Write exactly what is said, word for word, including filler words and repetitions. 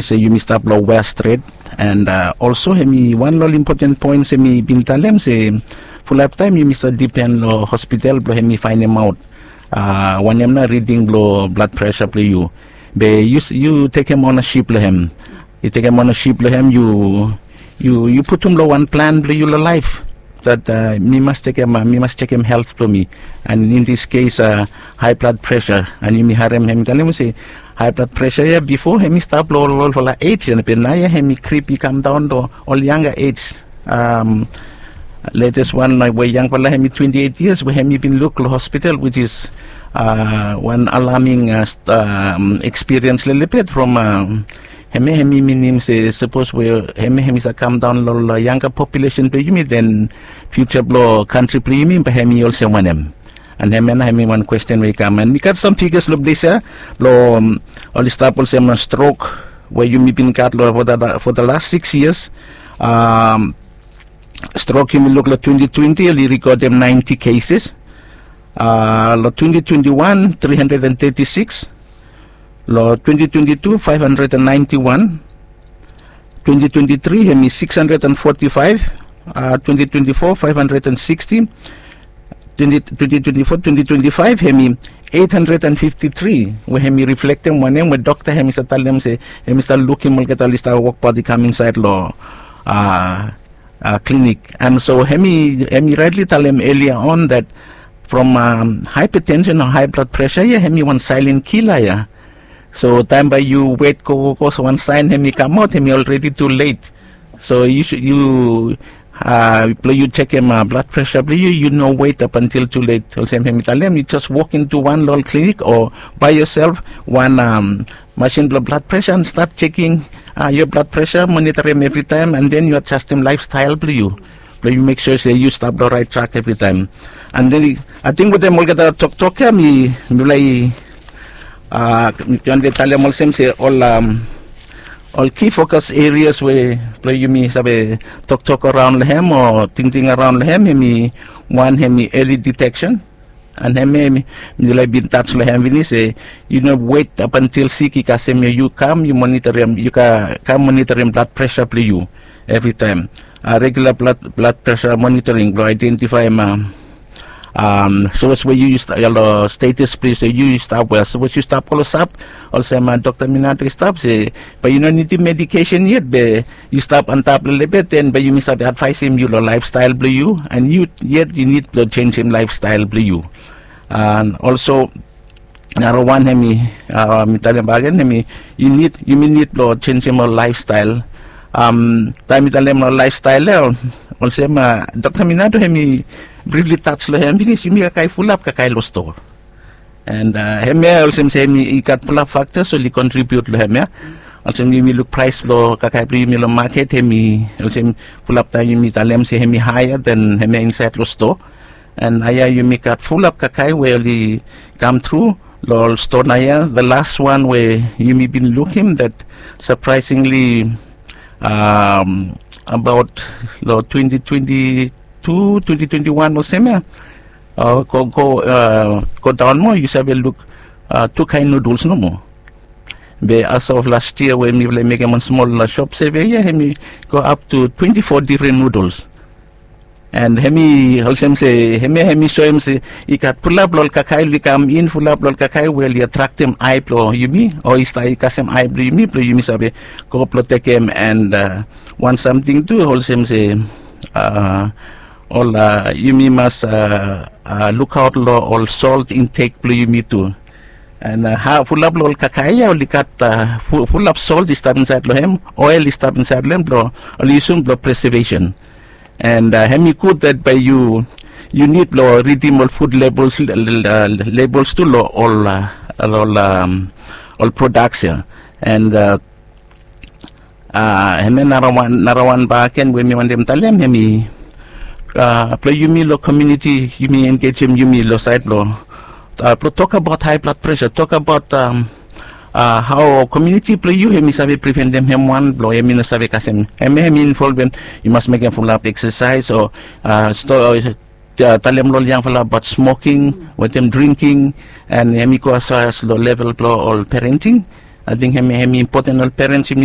se yumi stap long wea stret. And olso hemi wan long ol impoten poen se mi bin talem se fulap taem yumi stap dipen long hospital blong hemi faenemaot wanem na riding blong blad presa blong yu. Be yu tekem onasip long hem. Yu tekem onasip long hem, yu putum long wan plan blong yu long laef dat mi mas tekem mi mas tekem helt blong mi. And in dis kes hae blad presa, and yumi harem hem i talem se hae blad presa ya bifo hem i stap long ol olfala ej, be naoia hem i krip i kamdaon long ol yanga ej. Letes wan we yangfala hem i twenti eit yias we hem i bin luk long hospital, wis is wan alaming ekspiriens lelebet from hem ya hem i minim se sapos we hem ya hem i save kamdaon long ol yanga populesen blong yumi, den fiuja blong kantri blong yumi bae hem i olsem wanem? And hem ya nao hem i wan kwesten we i kam. And mi gat sam figas long ples ya blong oli stap olsem strok we yumi bin gat long fo da las sikis yias. Strok yumi luk long twenti twenti oli rekodem naenti keses. Long twenti twenti wan tri handred and teti sikis. Long twenti twenti tu faef handred and naenti wan. Twenti twenti tri hem i sikis handred and foti faef. Twenti twenti fo faef handred and siksti. Twenti twenti fo twenti twenti faef hem i eit handred and fifti tri, we hem i riflektem wanem we dokta hem i save talem se hem i save lukim olgeta oli stap wokbaot i kam insaed long klinik. And so hem i raetli talem elia on dat from haepatensen o hae blad presa ya hem i wan saelen kila ya. So taem bae yu wet gogogo so wan saen hem i kamaot hem i olredi tu let. So yu blong yu jekem blad presa blong yu, yu no wet ap antil tu let. Olsem hem i talem, yu jes wok intu wan long ol klinik o bae yosel wan masin blong blad presa and stat jeking yo blad presa, monitorim evritaem, and den yu ajastem laefstael blong yu blong yu mek sua se yu stap long raet trak evritaem. And den ating wetem olgeta toktok ya mi mifala i mi wande talem olsem se ol ol ki fokas erias we blong yumi save toktok araon long hem o tingting araon long hem, hem i wan hem i eli diteksen. And hem ya mi laik bin taj long hem finis se yu no wet ap antil sik i kasem ya, yu kam yu monitorim, yu kam monitorim blad presa blong yu evritaem. Regula blad presa monitoring blong aedentifaem sapos we yu yu stap long stetas ples we yu yu stap we sapos yu stap klosap olsem dokta Minato i stap se bae yu no nidim medikesen yet be yu stap antap lelebet, den bae yumi save advaesem yu long laefstael blong yu, and yu yet yu nid blong jenjem laefstael blong yu. And olso narawan hem i mi talem bakegen hem i yu nid yumi nid blong jenjem ol laefstael. Taem mi talem long laefstael ya olsem dokta Minato hem i brifli taj long hem finis, yumi kakae fulap kakae long stoa. And hem ya olsem se hem i gat fulap faktas oli kontribiut long hem ya. Olsem yumi luk praes blong kakae blong yumi long maket hem i olsem fulap taem yumi talem se hem i haea den hem ya insaed long stoa. And naoia yumi gat fulap kakae we oli kam tru long ol stoa naoia. The las wan we yumi bin lukim dat sapraesingli abaot long twenti twenti tu twenti twenti wan olsem ya, go daon moa yu save luk tu kaen nuduls nomo. Be as of las yia we mifala i mekem wan smol sop seve ya hem i go ap tu twenti fo difren nuduls. And hem i olsem se hem ya hem i soem se i gat fulap long ol kakae oli kam in, fulap long ol kakae we oli atraktem ae blong yumi o i stap i kasem ae blong yumi blong yumi save go blong tekem. And wan samting tu olsem se ol yumi mas lukaot long ol solt intek blong yumi tu. And fulap long ol kakae ya oli gat fulap solt i stap insaed long hem, oel i stap insaed long hem blong oli yusum blong presevesen. And hem i gud dat bae yu yu nid blong ridim ol fud lebels tu long ol ol prodaks ya. And hemia narawan narawan bakegen we mi wantem talem hemi blong yumi long komuniti yumi engejem yumi long saed blong blong tokabaot hae blad presa, tokabaot hao komuniti blong yu hemi save priventem hem wan blong hemi no save kasem hemia hemi involvem yu mas mekem fulap eksasaes o talem long ol yangfala abaot smoking wetem dringking. And hemi go asfas long level blong ol parenting. Ating hemi hemi impoten ol parents yumi